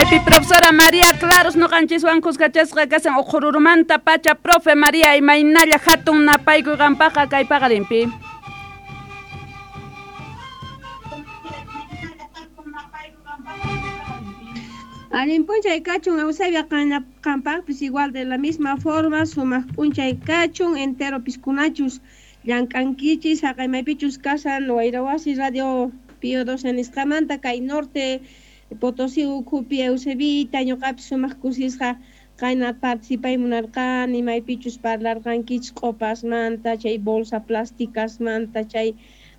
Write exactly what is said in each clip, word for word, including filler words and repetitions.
Kaypi profesora María Claros noqanchiswan kuskachasqa kasan uqhururumanta pacha. Profe María, imaynalla hatun napaykuy qampaqa kay paqarinpi? Allin p'unchay kachun Eusebia qampaqpis igual de la misma forma sumaq p'unchay kachun entero piskunachus llank'ankichis haqay maypichus kasan Wayrawasi Radio Pío doce nisqamanta kay norte Potosí ukhupi Eusebita ñuqapis sumaq kusisqa qayna participay munarqani maypichus parlarqankichis q'opasmanta chay bolsa plásticasmanta chay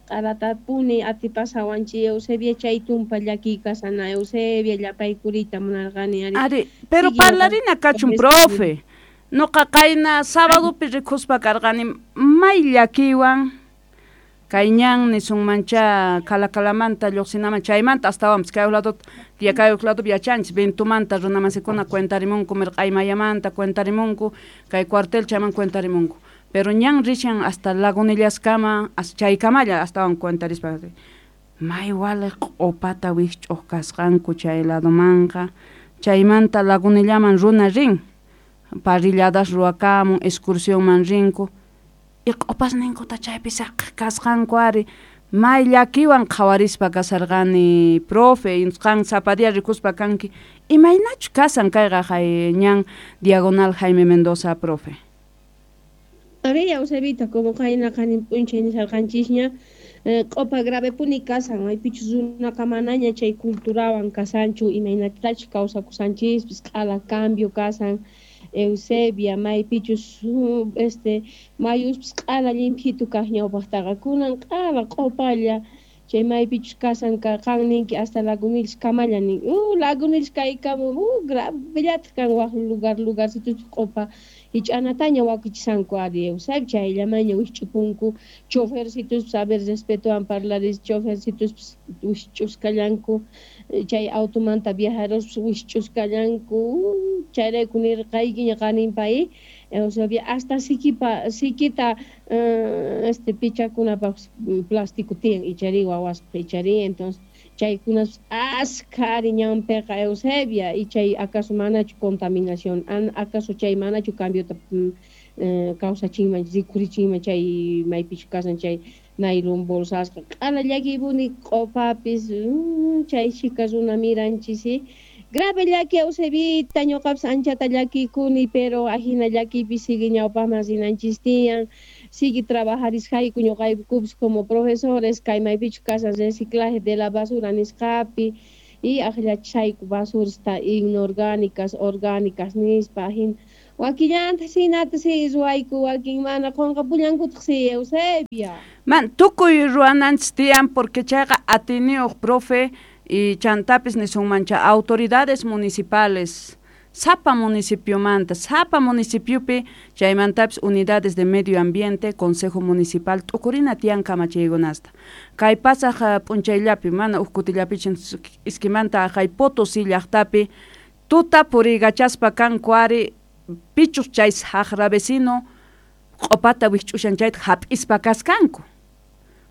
q'aratapuni atipasawanchik Eusebia chay tumpa llakiy kasana Eusebia llapaykurita munarqani ari. Ari, pero parlarina kachun profe. Noqa qayna sábadopi rikuspa karqani may llakiywan kay ñan nisunmancha Calakalamanta lluqsinaman chaymanta astawanpis kay lado kay ladopi yachanchis Ventumanta runamasikuna cuentarimunku mirq'aymayamanta cuentarimunku kay cuartel chayman cuentarimunku pero ñan rishan hasta Lagunillascama chaykamalla astawan cuentarispa may waliq q'opata wikch'uq kasqanku chay ladomanqa chaymanta Lagunillaman runa rin parrilladas ruwakamun excursionman rinku y q'opasninkuta chaypi saqaq kasqanku ari may llakiwan qhawarispa kasarqani profe qan sapa día rikuspa kanki imaynachu kasan kayqa hay ñan diagonal Jaime Mendoza profe. Ari Eusebita como qayna qanin p'unchay nisarqanchisña q'opa gravepuni kasan maypichus runaqa manaña chay culturawan kasanchu imaynatachus kawsakusanchispis q'ala cambio kasan Eusebia maypichus este mayuspis q'ala llimphitu kaq ñawpaqtaqa kunan q'ala q'opalla chay maypichus kasan qan ninki hasta Lagunillas kamalla nin uh Lagunillas kaykamu uh gravellataq kan waq lugar lugarcituchus q'opa hich'anataña wakichisanku ari Eusebia chayllamaña wikch'upunku chofercituspis a ver respetowan parlaris chofercituspis wikch'uskallanku chay automanta viajerospis wikch'uskallanku chayrayku nirqaykiña qaninpay Eusebia hasta sikipa sikita este pichakunapaq plástico tiyan ichari wawaspaq ichari entonces chaykunas askha ari ñanpiqa Eusebia y chay acaso manachu contaminación acaso chay manachu cambiota kawsachinman rikurichinman chay maypichu kasan chay nailon bolsasqa q'ala llakiypuni q'opapis chay chhika runa miranchis grave llaki Eusebita ñuqapis anchata llakikuni pero ajina llakiypi sigue ñawpaqman rinanchis tiyan sigue trabajarisqayku ñuqaykupis como profesores kay maypichu kasan reciclaje de la basura nisqapi y aqllachayku basurasta inorgánicas orgánicas nispa ajina wakillanta sinata si ruwayku wakin mana qunqapullankutaq si Eusebia. Man tukuy ruwananchis tiyan porque chayqa atiniyuq profe y chantapis nisunmancha autoridades municipales sapa municipiomanta sapa municipiopi chaymantapis unidades de medio ambiente consejo municipal t'ukurina tiyan kamachiykunasta kay pasaq p'unchayllapi mana uj kutillapichin iskimanta hay Potosí llaqtapi tuta puriykachaspa kanku ari pichus chay saqra vecino q'opata wikch'ushan chayta hap'ispa kaskanku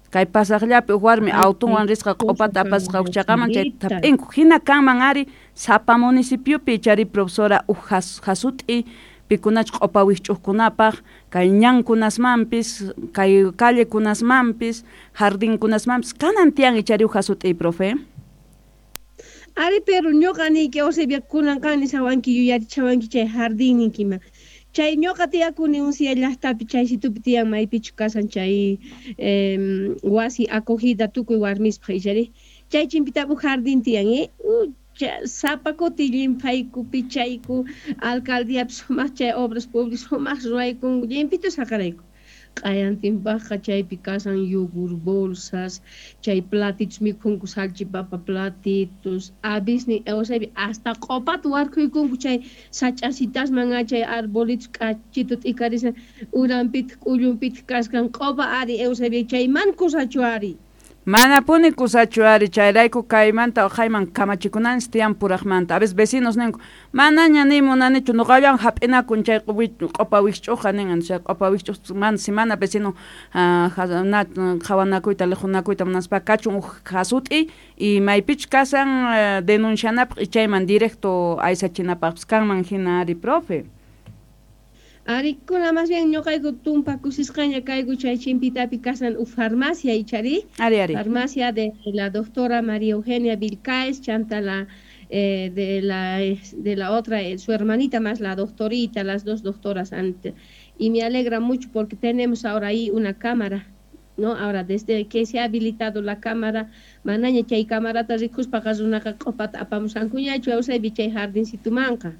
kay pasaqllapi uj warmi autonwan risqa q'opata apasqa uqchaqaman chayta hap'inku hina kanman ari sapa municipiopi chari profesora uj jasut'i pikunach q'opa wikch'uqkunapaq kay ñankunasmanpis kay callekunasmanpis jardinkunasmanpis kanan tiyan ichari uj jasut'i profe. Ari pero ñuqa niyki Eusebia kunan qan nishawanki yuyarichawanki chay jardín ninkima chay ñuqa tiyakuni Uncia llaqtapi chaysitupi tiyan maypichu kasan chay wasi acogida tukuy warmispaq ichari chay chimpitapu jardín tiyan eh sapa kuti llimphayku pichayku alcaldiapis sumaq chay obras públicas sumaq ruwaykunku llimphitu saqarayku q'ayantinpaqqa chaypi kasan yogur bolsas chay platitos mikhunku salchipapa platitos avisni Eusebia hasta q'opata warkhuykunku chay sach'asitasman chay arbolitos k'achitu t'ikarisa uranpitaq k'ullunpitaq kaskan q'opa ari Eusebia chay man kusachu ari. Manapuni kusachu ari chayrayku kaymanta uqayman kamachikunanchis tiyan puraqmanta. A veces vecinos ninku manaña ni munanichu nuqallan hap'inakun chay q'upa wikch'uqa nin chay q'upa wikch'uq mana si mana vecino qhawanakuyta liqunakuyta munaspa kachun uj hasut'i y maypichus kasan denuncianapaq y chayman directo aysachinapaqpis kanman hina ari profe. Arikuna más bien ñuqayku tumpa kusisqaña kayku chay chimpitapi kasan uj farmacia ichari. Ari, ari. Farmacia de la doctora María Eugenia Vilcaes, chanta la eh, de la de la otra, eh, su hermanita más la doctorita, las dos doctoras antes. Y me alegra mucho porque tenemos ahora ahí una cámara, ¿no? Ahora desde que se ha habilitado la cámara, manaña chay camarata rikuspaqa runaqa q'upata apamusankuñachu Eusebio chay jardincitumanqa.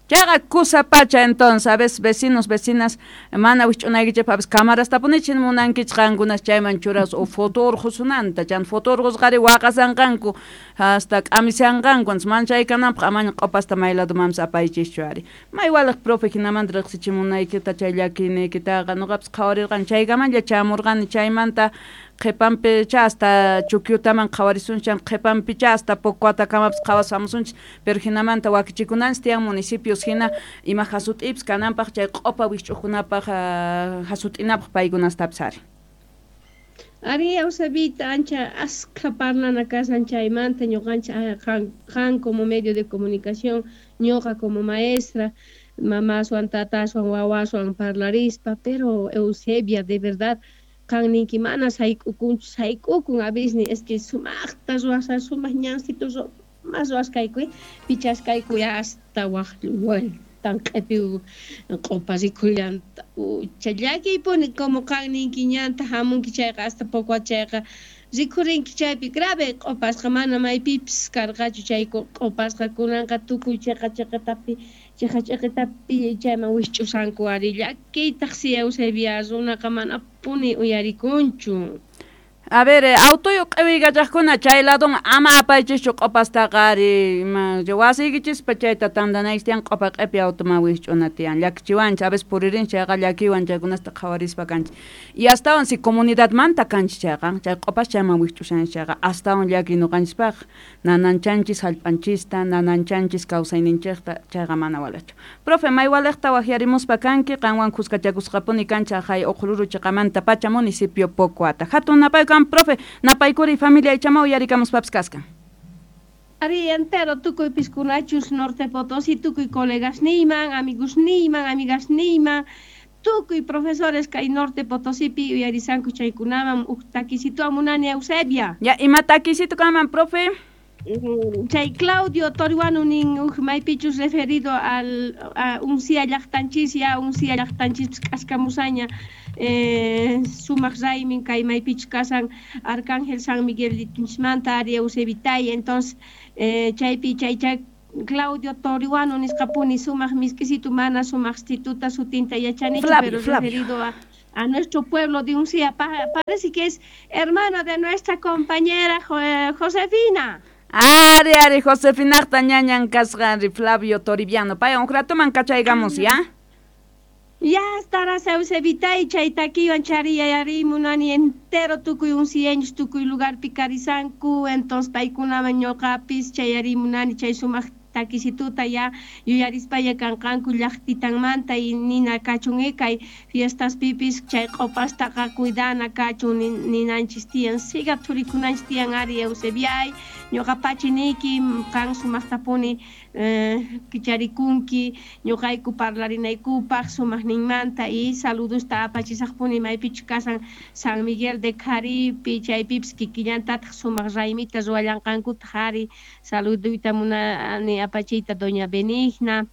Chayqa kusa pacha entonces, a veces vecinos, vecinas, mana wikch'unaykichikpaq a veces cámaras tapunichin munankichik qankunas chayman churas o foto urqusunanta, chan foto urqusqari waqasanqanku hasta k'amisanqanku, entonces mana chay kananpaq amaña q'upasta may ladomanpis apaychischu ari. May waliq profe hinamanta riqsichimunaykita chay llakiyniykitaqa nuqapis qhawarirqani chaykamanlla chamurqani chaymanta qhipanpicha hasta Chukyutaman qhawarisunchik qhipanpicha hasta Pocoatakamapis qhawasamusunchik pero hinamanta wakichikunanchik tiyan municipios hina ima hasut'ipis kananpaq chay q'upa wikch'uqkunapaq hasut'inapaq paykunastapis ari. Ari Eusebita ancha askha parlana kasan chaymanta ñuqanchik qan, qan como medio de comunicación ñuqa como maestra mamaswan tataswan wawaswan parlarispa pero Eusebia de verdad qan ninki mana sayk'ukunchu sayk'ukun a veces es que sumaqta ruwasqa sumaq ñansito mas ruwasqayku pichasqayku hasta waq tan q'epi q'upa rikhullanta ucha llakiypuni como qan ninki ñanta hamunki chayqa hasta poco chayqa rikhurinki chaypi grave q'upasqa mana maypipis karqachu chay q'upasqa kunanqa tukuy chiqa chiqatapi chiqa chiqitapi chayman wikch'usanku ari llakiytaq si Eusebia runaqa manapuni uyarikunchu. A ver, autoyuq q'iwiykachaqkuna chay ladon ama apaychischu q'upastaqa ari wasiykichispa chayta tantanaykichis tiyan q'upa q'ipi automan wikch'una tiyan llakichiwanchik a veces puririnchik chayqa llakiywan chaykunasta qhawarispa kanchik y astawan si comunidadmanta kanchik chayqa chay q'upas chayman wikch'ushanchik chayqa astawan llakiy ñuqanchispaq nananchanchis hallp'anchista nananchanchis kawsayninchikta chayqa mana waliqchu. Profe may waliqta waqyarimuspa kanki qanwan kuskachakusqapuni kanchik haqay Uqruru chiqamanta pacha municipio Pocoata. Hatun napayku profe, napaykuri familia ichama uyarikamuspapis kaskan. Ari entero tukuy piskunachus Norte Potosí, tukuy colegas niyman, amigos niyman, amigas niyman, tukuy profesores kay Norte Potosipi uyarisanku chaykunaman uj takisito amunani Eusebia. Ya, ima takisito kaman, profe? Chay Claudio Toriwanu nin uj maypichus referido al a uncia llaqtanchis ya uncia llaqtanchis k'askamusaña eh, sumaq raymin kay maypichus kasan Arcángel San Miguel manta ari Eusebitay entonces eh, chaypi chay chay Claudio Toriwanu nisqapuni sumaq misk'isitu mana sumaq stituta sutinta yachanichu pero Flavio. Referido a a nuestro pueblo de Uncía, pa parece que es hermano de nuestra compañera Jo Josefina. Ari, ari, Josefinaqta ñañan kasqa Flavio Toribiano. Pay un ratoman kachaygamos, ¿ya? Ya estarás Eusebita y chay takiwan chariyayarimunani entero tukuy uncieños tukuy lugar pikarisanku, entonces paykunaman ñuqapis chayarimunani chay sumaq takisituta ya yuyarispalla kanqanku llaqtitanmanta y nina kachun kay fiestas pipis chay q'upastaqa cuidana kachun ninanchis tiyan siga thurikunanchis tiyan ari Eusebiay ñuqa pachiniyki qan sumaqtapuni eh, kicharikunki ñuqayku parlarinaykupaq sumaqninmanta y saludusta apachisaqpuni maypichus kasan San Miguel de Caripi chaypipis kikillantataq sumaq raymita ruwallanqankutaq ari saluduyta munani apachita doña Benigna,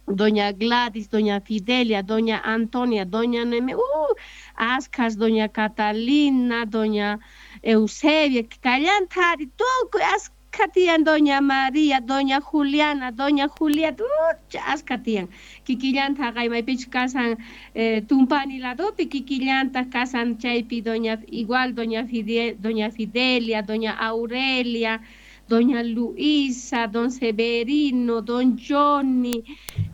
doña Gladys, doña Fidelia, doña Antonia, doña Neme, uh, askas, doña Catalina, doña Eusebia, kallanta ari tukuy askha tiyan doña María, doña Juliana, doña Julieta, uh, askha tiyan. Kikillanta haqay maypichus kasan eh, Tumpani ladopi, kikillanta kasan chaypi doña igual doña Fidel, doña Fidelia, doña Aurelia, doña Luisa, don Severino, don Johnny,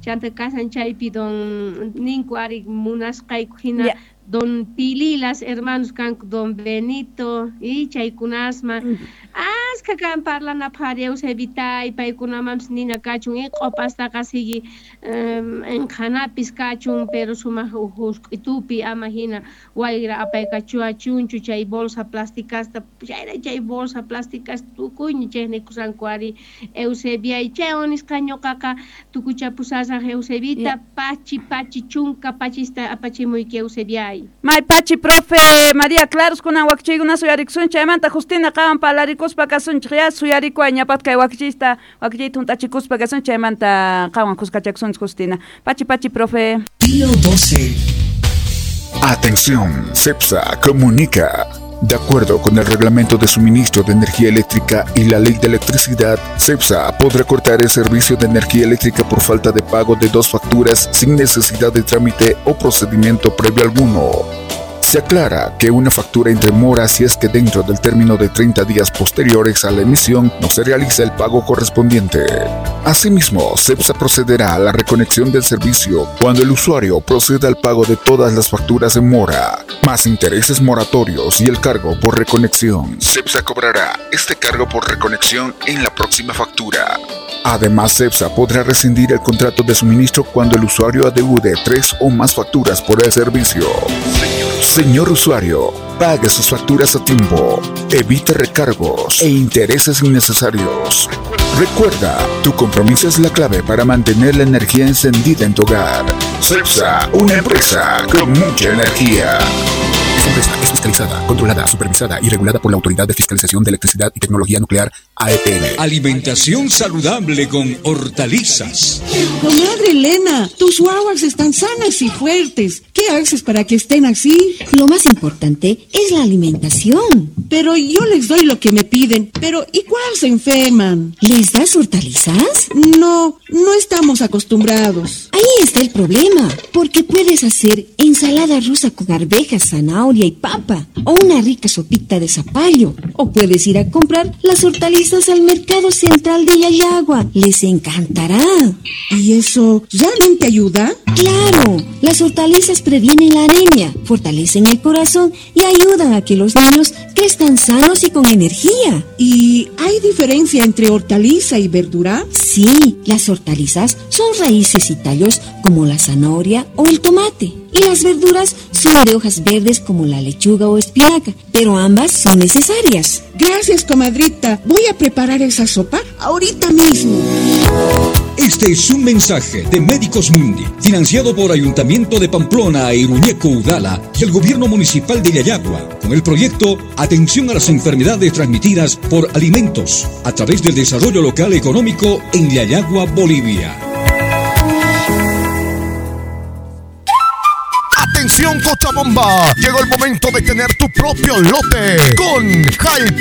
chanta kasan chaypi don ninku ari munasqayku hina Yeah. Don Pililas, hermanos kanku Don Benito y chaykunasma aska kan parlanapaq Eusebita y paykunamanpis nina kachun y q'opastaqa sigui enqhanapis kachun pero sumaq husk'itupi ama hina wayra apaykachuachunchu chay bolsa plasticasta chayra chay bolsa plasticasta tukuyña chaynikusqanku ari Eusebia y chaywan nisqa ñuqaqa tukuchapusasaq Eusebita pachi pachi chunka pachista apachimuyki Eusebia. May pachi profe María Claros kunan wakichiykuna suyarikusun chaymanta Justina qawan palarikuspa kasunchik ya suyarikuay ñapat kay wakichista wakichiyta juntachikuspa kasun chaymanta qawan kuskachakusunchik Justina. Pachi pachi profe. Pío doce. Atención, CEPSA comunica. De acuerdo con el Reglamento de Suministro de Energía Eléctrica y la Ley de Electricidad, CEPSA podrá cortar el servicio de energía eléctrica por falta de pago de dos facturas sin necesidad de trámite o procedimiento previo alguno. Se aclara que una factura entre mora si es que dentro del término de treinta días posteriores a la emisión no se realiza el pago correspondiente. Asimismo, CEPSA procederá a la reconexión del servicio cuando el usuario proceda al pago de todas las facturas en mora, más intereses moratorios y el cargo por reconexión. CEPSA cobrará este cargo por reconexión en la próxima factura. Además, CEPSA podrá rescindir el contrato de suministro cuando el usuario adeude tres o más facturas por el servicio. Señor usuario, pague sus facturas a tiempo, evite recargos e intereses innecesarios. Recuerda, tu compromiso es la clave para mantener la energía encendida en tu hogar. CEPSA, una empresa con mucha energía. Esta empresa es fiscalizada, controlada, supervisada y regulada por la Autoridad de Fiscalización de Electricidad y Tecnología Nuclear, A E T N. Alimentación saludable con hortalizas. Comadre Elena, tus guaguas están sanas y fuertes. ¿Qué haces para que estén así? Lo más importante es la alimentación. Pero yo les doy lo que me piden. Pero igual se enferman. ¿Les das hortalizas? No, no estamos acostumbrados. Ahí está el problema, porque puedes hacer ensalada rusa con arvejas, zanahoria y papa, o una rica sopita de zapallo, o puedes ir a comprar las hortalizas al mercado central de Llallagua. Les encantará. ¿Y eso realmente ayuda? ¡Claro! Las hortalizas previenen la anemia, fortalecen el corazón y ayudan a que los niños crezcan sanos y con energía. ¿Y hay diferencia entre hortaliza y verdura? Sí, las hortalizas son raíces y tallos como la zanahoria o el tomate. Y las verduras son de hojas verdes como la lechuga o espinaca, pero ambas son necesarias. Gracias, comadrita. Voy a preparar esa sopa ahorita mismo. Este es un mensaje de Médicos Mundi, financiado por Ayuntamiento de Pamplona e Iruñeco Udala y el Gobierno Municipal de Llallagua, con el proyecto Atención a las Enfermedades Transmitidas por Alimentos, a través del Desarrollo Local Económico en Llallagua, Bolivia. Atención Cochabamba, llegó el momento de tener tu propio lote con High